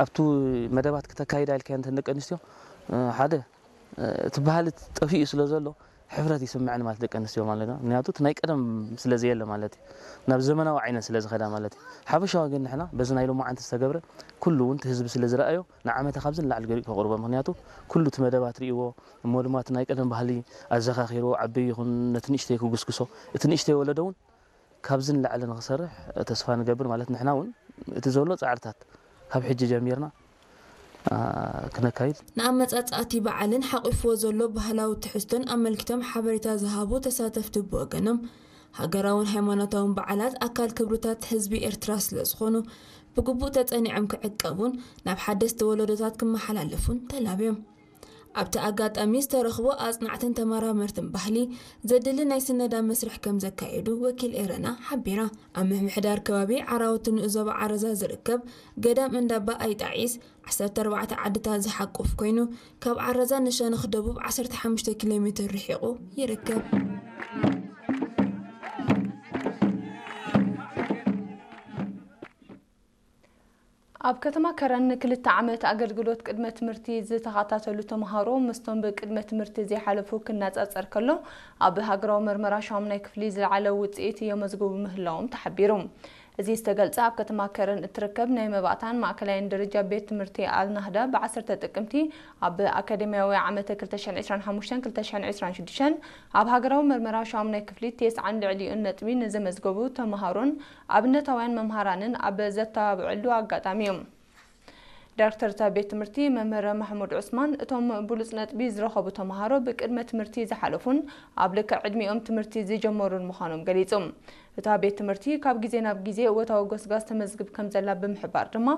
ኣብቱ መደባት ክተካይዳ ኢልካ እንተ ደቂ ኣንስትዮ ሓደ እቲ ባህሊ ጠፊኡ ስለ ዘሎ ሕፍረት ይስምዐን ማለት ደቂ ኣንስትዮ ማለት ነው። ምክንያቱ እቲ ናይ ቀደም ስለ ዘየለ ማለት እዩ፣ ናብ ዘመናዊ ዓይነት ስለ ዝኸዳ ማለት እዩ። ሓፈሻዊ ግን ንሕና በዚ ናይ ሎማዓንቲ ዝተገብረ ኩሉ እውን እቲ ህዝቢ ስለ ዝረኣዮ ንዓመታ ካብዚ ንላዕሊ ገሪኡ ከቕርቦ፣ ምክንያቱ ኩሉ እቲ መደባት ርእይዎ እሞ ድማ እቲ ናይ ቀደም ባህሊ ኣዘኻኺርዎ ዓበይ ይኹን ነቲ ንእሽተይ ክጉስጉሶ፣ እቲ ንእሽተይ ወለዶ እውን ካብዚ ንላዕሊ ንክሰርሕ ተስፋ ንገብር ማለት ንሕና እውን እቲ ዘሎ ፃዕርታት ካብ ሕጂ ጀሚርና ክነካይድ። ንኣመጻጽኣቲ በዓልን ሓቂፍዎ ዘሎ ባህላዊ ትሕዝቶን ኣመልኪቶም ሓበሬታ ዝሃቡ ተሳተፍቲ ብወገኖም ሃገራውን ሃይማኖታውን በዓላት ኣካል ክብርታት ህዝቢ ኤርትራ ስለ ዝኾኑ ብግቡእ ተጸኒዖም ክዕቀቡን ናብ ሓደስቲ ወለዶታት ክመሓላለፉን ተላብዮም። ኣብቲ ኣጋጣሚ ዝተረኽቡ ኣጽናዕትን ተመራመርትን ባህሊ ዘድሊ ናይ ስነዳ መስርሕ ከም ዘካየዱ ወኪል ኤረና ሓቢራ። ኣብ ምምሕዳር ከባቢ ዓራውቲ ንኡስ ዞባ ዓረዛ ዝርከብ ገዳም እንዳባ ኣይጣዒስ ዓሰርተ ኣርባዕተ ዓድታት ዝሓቁፍ ኮይኑ ካብ ዓረዛ ንሸነኽ ደቡብ ዓሰርተ ሓሙሽተ ኪሎ ሜትር ርሒቑ ይርከብ። ኣብ ከተማ ከረን ንክልተ ዓመት ኣገልግሎት ቅድመ ትምህርቲ ዝተኸታተሉ ተምሃሮ ምስቶም ብቅድመ ትምህርቲ ዘይሓለፉ ክነጻጸር ከሎ ኣብ ሃገራዊ መርመራ ሻሙናይ ክፍሊ ዝለዓለ ውጽኢት የመዝግቡ ምህላዎም ተሓቢሩ። እዚ ዝተገልጸ ኣብ ከተማ ከረን እትርከብ ናይ መባእታን ማእከላይን ደረጃ ቤት ትምህርቲ ኣልናህዳ ብ ዓሰርተ ጥቅምቲ ኣብ ኣካደሚያዊ ዓመተ ክልተ ሽሕን ዕስራን ሓሙሽተን ክልተ ሽሕን ዕስራን ሽዱሽተን ኣብ ሃገራዊ መርመራ ሻሙናይ ክፍሊ ተስዓን ልዕሊኡን ነጥቢ ንዘመዝገቡ ተምሃሮን ኣብነታውያን መምሃራንን ኣብ ዘተባብዐሉ ኣጋጣሚ እዩ። ዳይሬክተር እታ ቤት ትምህርቲ መምህር ማሕሙድ ዑስማን እቶም ብሉጽ ነጥቢ ዝረኸቡ ተምሃሮ ብቅድመ ትምህርቲ ዝሓለፉን ኣብ ልክዕ ዕድሚኦም ትምህርቲ ዝጀመሩን ምዃኖም ገሊጹ። እታ ቤት ትምህርቲ ካብ ግዜ ናብ ግዜ እወታዊ ጎስጋስ ተመዝግብ ከም ዘላ ብምሕባር ድማ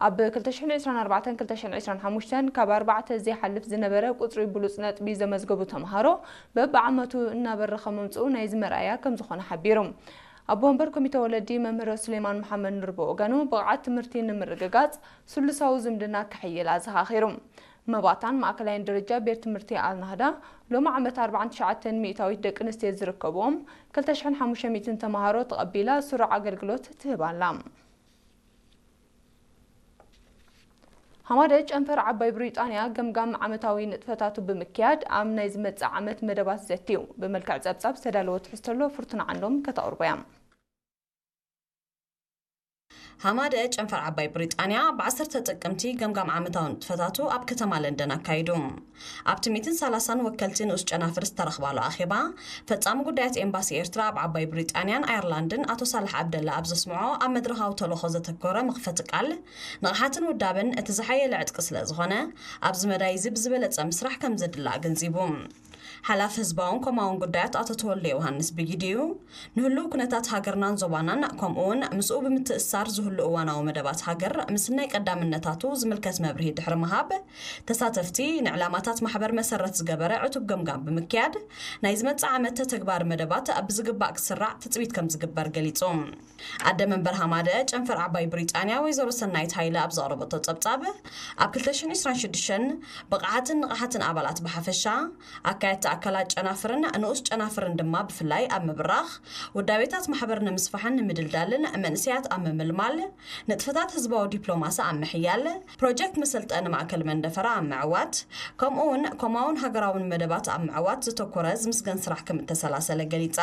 ኣብ ክልተ ሽሕን ዕስራን ኣርባዕተን ክልተ ሽሕን ዕስራን ሓሙሽተን ካብ ኣርባዕተ ዘይሓልፍ ዝነበረ ቁጽሪ ብሉጽ ነጥቢ ዘመዝገቡ ተምሃሮ በብዓመቱ እናበረኸ ምምጽኡ ናይዚ መርኣያ ከም ዝኾነ ሓቢሩ። ኣቦ ወንበር ኮሚተ ወለዲ መምህር ሱሌማን መሓመድ ኑር ብወገኑ ብቕዓት ትምህርቲ ንምርግጋጽ ስሉሳዊ ዝምድና ክሕይል ኣዘኻኺሩ። መባእታን ማእከላይን ደረጃ ቤት ትምህርቲ ኣልናህዳ ሎሚ ዓመት ኣርባዓን ትሽዓተን ሚእታዊት ደቂ ኣንስትዮ ዝርከብዎም ክልተ ሽሕን ሓሙሽተ ሚእትን ተምሃሮ ተቐቢላ ስሩዕ ኣገልግሎት ትህብ ኣላ። ሃማደ ጨንፈር ዓባይ ብሪጣንያ ገምጋም ዓመታዊ ንጥፈታቱ ብምክያድ ኣብ ናይ ዝመጽእ ዓመት መደባት ዘትዩ ብመልክዕ ጸብጻብ ዝተዳለወ ትሕዝቶ ኣሎ። ፍርቱና ዓንዶም ከተቕርቦ እያ። ሃማደ ጨንፈር ዓባይ ብሪጣንያ ብ ዓሰርተ ጥቅምቲ ገምጋም ዓመታዊ ንጥፈታቱ ኣብ ከተማ ለንደን ኣካይዱ። ኣብቲ ሚእትን ሰላሳን ወከልቲ ንኡስ ጨናፍር ዝተረኽባሉ ኣኼባ፣ ፈጻሚ ጉዳያት ኤምባሲ ኤርትራ ኣብ ዓባይ ብሪጣንያን ኣየርላንድን ኣቶ ሳልሕ ዓብደላ ኣብ ዘስምዖ ኣብ መድረኻዊ ተልእኾ ዘተኮረ መኽፈቲ ቃል፣ ንቕሓትን ውዳበን እቲ ዝሓየለ ዕጥቂ ስለ ዝኾነ፣ ኣብዚ መዳይ እዚ ብዝበለጸ ምስራሕ ከም ዘድሊ ኣገንዚቡ። ሓላፊ ህዝባውን ኮማውን ጉዳያት ኣቶ ተወልደ ዮሃንስ ብጊዲኡ፣ ንህልው ኩነታት ሃገርናን ዞባናን፣ ከምኡውን ምስኡ ብምትእስሳር ዝህሉ እዋናዊ መደባት ሃገር ምስናይ ቀዳምነታቱ ዝምልከት መብርሂ ድሕሪ ምሃብ፣ ተሳተፍቲ ንዕላማታት ማሕበር መሰረት ዝገበረ ዕቱብ ገምጋም ብምክያድ፣ ናይ ዝመጽእ ዓመት ተተግባሪ መደባት ብዝግባእ ክስራዕ ትጽቢት ከም ዝግበር ገሊጹ። ኣደ መንበር ሃማደ ጨንፈር ዓባይ ብሪጣንያ ወይዘሮ ሰናይት ሃይለ ኣብ ዘቕረበቶ ጸብጻብ፣ ኣብ ክልተ ሽሕን ዕስራን ሽዱሽተን ብቕዓትን ንቕሓትን ኣባላት ብሓፈሻ፣ ኣካየድቲ ኣካላት ጨናፍርን ንኡስ ጨናፍርን ድማ ብፍላይ ኣብ ምብራኽ፣ ውዳቤታት ማሕበር ንምስፋሕን ንምድልዳልን፣ መንእሰያት ኣብ ምምልማል፣ ንጥፈታት ህዝባዊ ዲፕሎማሲ ኣብ ምሕያል፣ ፕሮጀክት መሰልጠኒ ማእከል መንደፈራ ኣብ ምዕዋት፣ ከምኡውን ኮማውን ሃገራውን መደባት ኣብ ምዕዋት ዘተኮረ ዝምስገን ስራሕ ከም እተሰላሰለ ገሊጻ።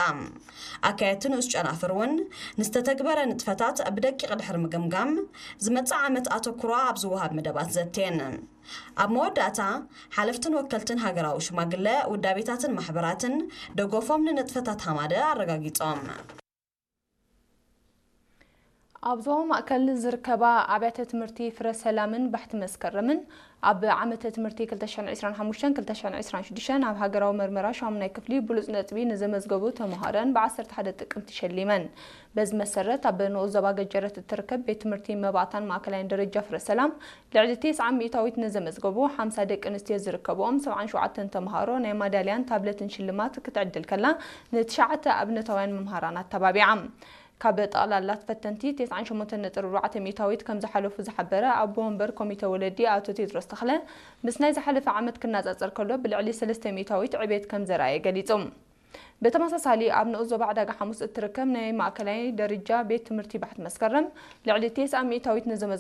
ኣካየድቲ ንኡስ ጨናፍር እውን ንዝተተግበረ ንጥፈታት ብደቂቕ ድሕሪ ምግምጋም፣ ዝመጽእ ዓመት ኣተኩሮ ኣብ ዝወሃብ መደባት ዘትየን። ኣብ መወዳእታ፣ ሓለፍትን ወከልትን ሃገራዊ ሽማግለ፣ ውዳቤታትን ማሕበራትን ደገፎም ንንጥፈታት ሃማደ ኣረጋጊጾም። ኣብ ዞባ ማእከል ዝርከባ ኣብያተ ትምህርቲ ፍረ ሰላምን ባሕቲ መስከረምን ኣብ ዓመተ ትምህርቲ ክልተ ሽሕን ዕስራን ሓሙሽተን ክልተ ሽሕን ዕስራን ሽዱሽተን ኣብ ሃገራዊ መርመራ ሻሙናይ ክፍሊ ብሉጽ ነጥቢ ንዘመዝገቡ ተምሃሮን ብ ዓሰርተ ሓደ ጥቅምቲ ሸሊመን። በዚ መሰረት ኣብ ንኡስ ዞባ ገጀረት እትርከብ ቤት ትምህርቲ መባእታን ማእከላይን ደረጃ ፍረ ሰላም ልዕሊ ተስዓ ሚእታዊት ንዘመዝገቡ ሓምሳ ደቂ ኣንስትዮ ዝርከብኦም ሰብዓን ሸውዓተን ተምሃሮ ናይ ማዳልያን ታብለትን ሽልማት ክትዕድል ከላ ንትሽዓተ ኣብነታውያን መምሃራን ኣተባቢዓ። ካብ ጠቕላላ ፈተንቲ ተስዓን ሸሞንተን ነጥቢ ኣርባዕተ ሚእታዊት ከም ዝሓለፉ ዝሓበረ ኣቦ ወንበር ኮሚተ ወለዲ ኣቶ ቴድሮስ ተኽለ፣ ምስ ናይ ዝሓለፈ ዓመት ክነጻጸር ከሎ ብልዕሊ ሰለስተ ሚእታዊት ዕቤት ከም ዘርኣየ ገሊጹ። ብተመሳሳሊ ኣብ ንኡስ ዞባ ዕዳጋ ሓሙስ እትርከብ ናይ ማእከላይ ደረጃ ቤት ትምህርቲ ባሕቲ መስከረም ልዕሊ ተስዓ ሚእታዊት ንዘመዝገቡ